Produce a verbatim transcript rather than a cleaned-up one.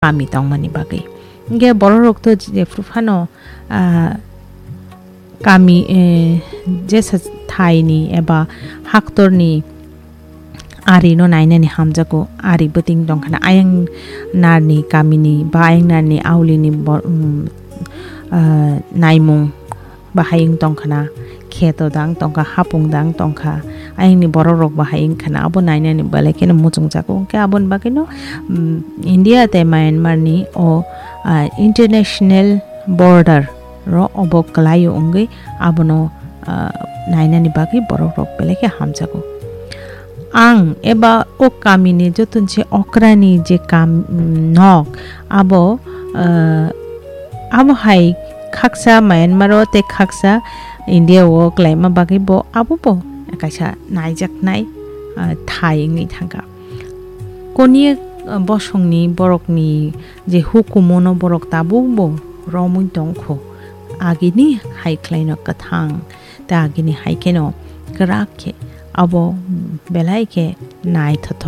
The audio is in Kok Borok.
kami tongmani bagwi. Hingke bororok to jephru phano, ah, kami, eh, jesa thaini eba haktorni arino nainani hamjago, ari bwtwing tongkhana, ayang narni kamini ba ayang narni aulini bo-, um, ah, naimung bahai wng tongkhana, kheto dang tongkha, hapung dang tongkha, ayangni bororok bahai wngkhana, abo nainani belai kheno muchungjago. Hwnkhe aboni bagwino, um, India tei Myanmarni o, ah, international border ro obo kwlaio wngwi abono, ah, nainani bagwi borokrok belai khe hamjago. Ang eba o kamini joto se okrani je kam, nok abo, ah, abo hai khaksa Myanmar o tei khaksa India o kwlaima bagwi bo abo bo kaisa naijaknai, ah, thai wngwi thangkha. Koniya, ah, bosongni borokni je hukumono borok tabuk bo romwi tongkho, agini hai khlaino kwthang tei agini hai kheno kwrak khe abo belai khe naithothok.